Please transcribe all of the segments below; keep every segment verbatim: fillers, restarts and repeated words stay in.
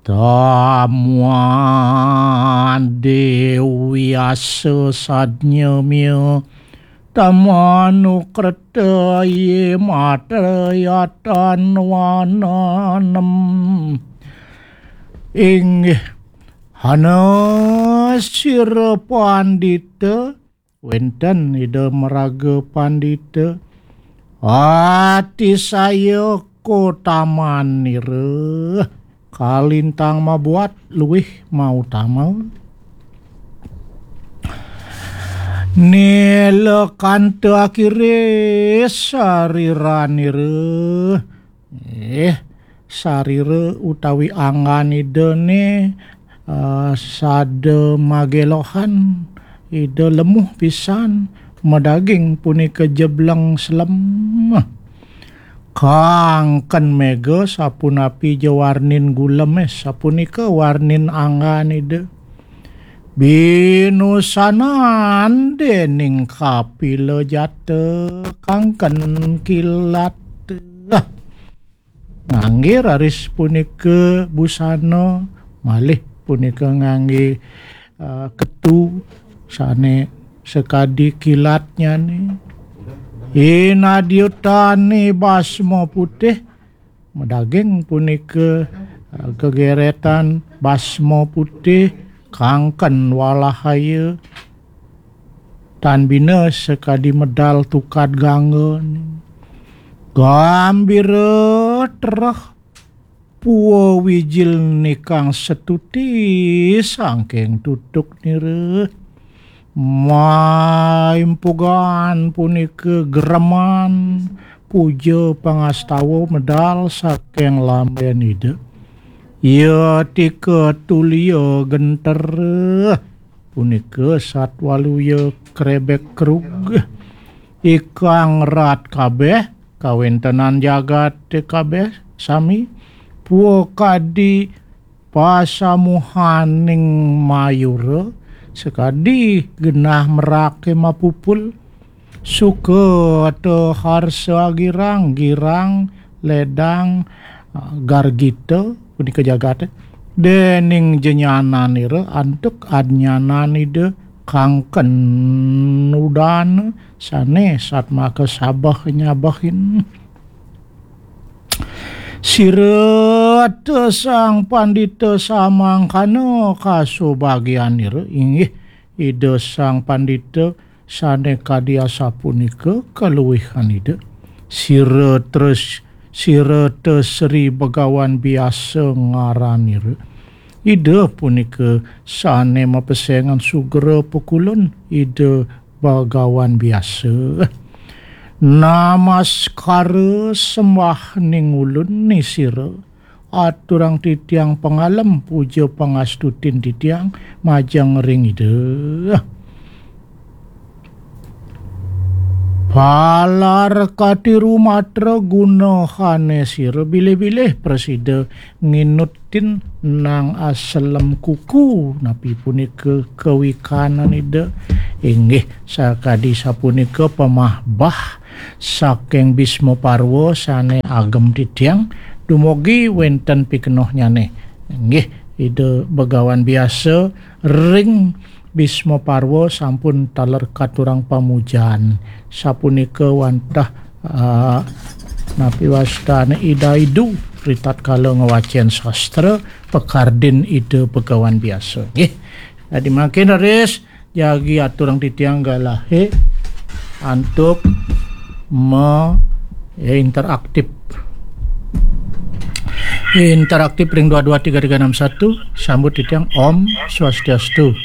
Tamuan Dewi Asa Sadnyamya Tamanukreta Ye Matrayatan Wananem. Inggih, hana sira pandita, wenten Ida maraga pandita, ati saya kotamanira kalintang mabuat luwih mautama. Nilakanta akire sariranira. Eh, sarira utawi anggan Ida ne, eh, sada magelohan, Ida lemuh pisan, madaging punika jebleng selem. Kangken mega sapunapi ja warnin gulem, eh, sapunika warnin anggan Ida. Binusanan dening kapila jata kangken kilat. Ngangge raris punika busana, malih punika ngangge, eh, ketu sane sakadi kilatnyane. Inadyutane basma putih, madaging punika, eh, gegeretan basma putih, kangken walahaya, tan bina sakadi medal tukad gangga. Gambira tereh pua wijil nikang setuti sangking tutuk nira. Maimpugan punika gereman puja pangastawa medal saking lamben Ida. Ya tika tulia genter punika satwaluya krebek krug. Ikang rat kabeh, kawentenan jagate kabeh sami, pua kadi pasamuhaning mayura, sakadi genah merake mapupul, suka ta harsa girang, girang, ledang, gargita, punika jagate, dening jenyananira antuk adnyanan Ida kangken udan sane satmaka sabeh nyabehin. Sira ta sang pandita samangkana kasubagianira, inggih Ida sang pandita sane kadi asapunika kaluihan Ida. Sira tres, sira ta Sri Begawan Biasa ngaranira. Ida punika sane mapesengan sugra pakulun Ida Begawan Biasa. Namaskara sembah ning ulun ni sira. Aturang titiang pangalem puja pangastutin titiang majeng ring Ida. Palar katiru matra gunahane sira bilih-bilih prasida nginutin nang aselem kuku napi punika kawikanan Ida. Inggih sakadi sapunika pamahbah saking Bisma Parwa sane agem titiang, dumugi wenten pikenohnyane. Inggih, Ida Begawan Biasa ring Bisma Parwa sampun taler katurang pamujan. Sapunika wantah, ah, napi wastane Ida Idu ritatkala ngwacen sastra pakardin Ida Begawan Biasa. Nggih. Dadi mangkin raris jagi aturang titiang galahe antuk me, ya, interaktif. Interaktif ring dua dua tiga tiga enam satu, sambut titiang Om Swastiastu.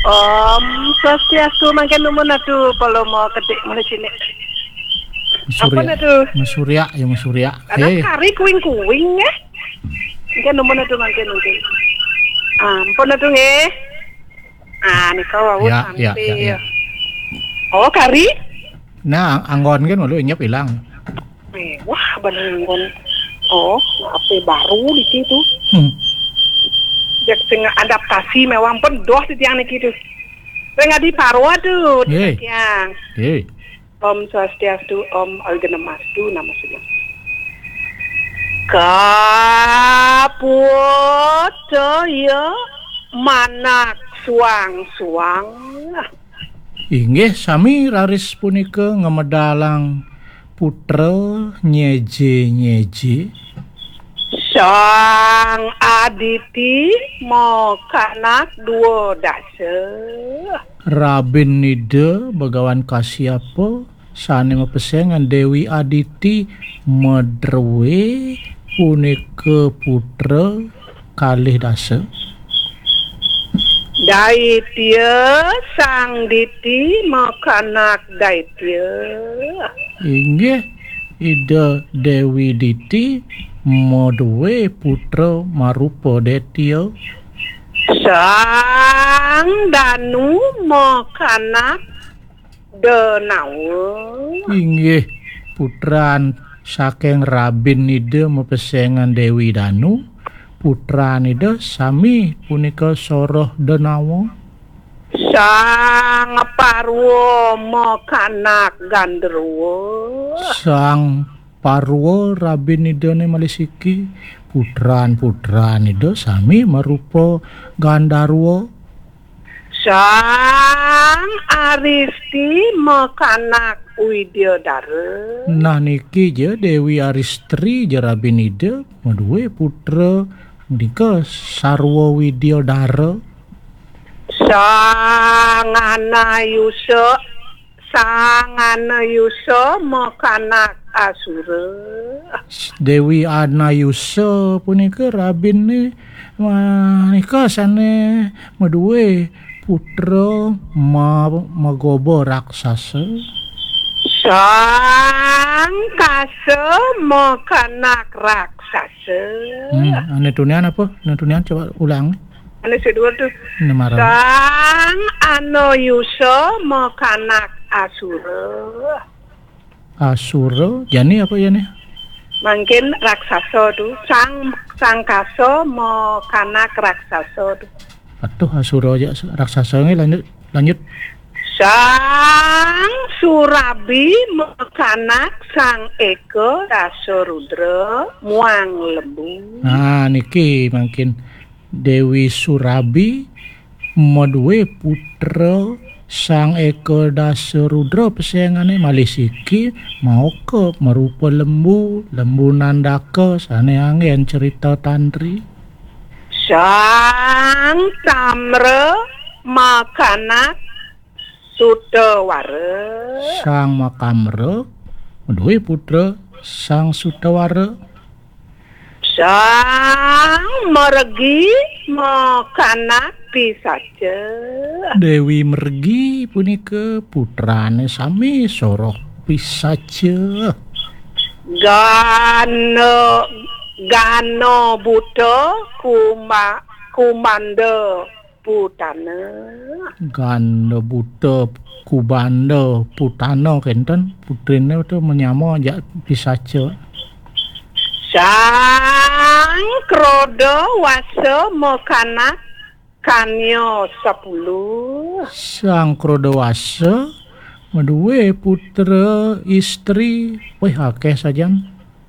Om Swastiastu, mangkin numun atu Paloma Kedik mula cilik. Apa Surya. Natu? Masurya, ya, Masurya. Anak Hei. Kari kuing-kuing, eh. Mangkin numun atu, mangkin, mangkin. Ampun atu, nggih. Ah, nika wau ya, ya, sampai. Ya, ya. Oh, kari? Nah, anggon kan malu inyap ilang. Eh, wah, bener anggon. Oh, apa baru di situ? Hmm. Cek sing adaptasi mewah pun doh di tiang niki tu. Sing adi parwa tu, di tiang. Hei. Om Swastiastu, Om Awighnamastu, nama sudah. Kaputa ya manak suang-suang. Inggih sami raris punika ngamedalang putra nyeje-nyeje. Sang Aditi makanak dua dasa. Rabin Ida Bagawan Kasyapa sane mapesengan Dewi Aditi madrue punika putra kalih dasa. Daitya Sang Diti makanak Daitya. Inggih, Ida Dewi Diti madue putra marupa Detya. Sang Danu makanak Denawa. Inggih, putran saking rabin Ida mapesengan Dewi Danu, putran Ida sami punika soroh Denawa. Sang Parwa makanak Gandarwa. Sang Parwa rabin Idane malih siki, putran-putran Ida sami marupa Gandarwa. Sang Aristi makanak Widyadara. Nah, niki ja Dewi Aristri ja rabin Ida madue putra nika sarwa Widyadara. Sang Anayusa, Sang Anayusa makanak Asura. Dewi Anayusa punika rabinne manika sane madue putra ma-, magoba raksasa. Sang Kasa makanak raksasa. Hmm, ane tunian apa? Ane tunian coba ulang. Ane sedua tu. Ane marang. Sang Anayusa makanak Asura. Asura, jani apa jani? Mangkin raksasa tu. Sang Sang Kasa makanak raksasa tu. Atuh Asura aja raksasa nggih, lanjut, lanjut. Sang Surabi makanak Sang Eka Dasa Rudra muang lembu. Nah, niki mangkin Dewi Surabi madue putra Sang Eka Dasa Rudra pesengane malih siki maoka marupa lembu, lembu nandaka sane anggen cerita tantri. Sang Tamra makanak Sutawara. Sang Makamra madue putra Sang Sutawara. Sang Mergi makanak Pisaca. Dewi Mergi punika putrane sami soroh Pisaca. Gana, Gana Buta Kuma-, Kumanda Putana. Ganda Buta Kubanda Putana kenten, putrine tu menyama jak Pisaca. Sang Kroda Wasa makanak Kanya sepuluh. Sang Kroda Wasa madue putra istri, weh, akeh sajan.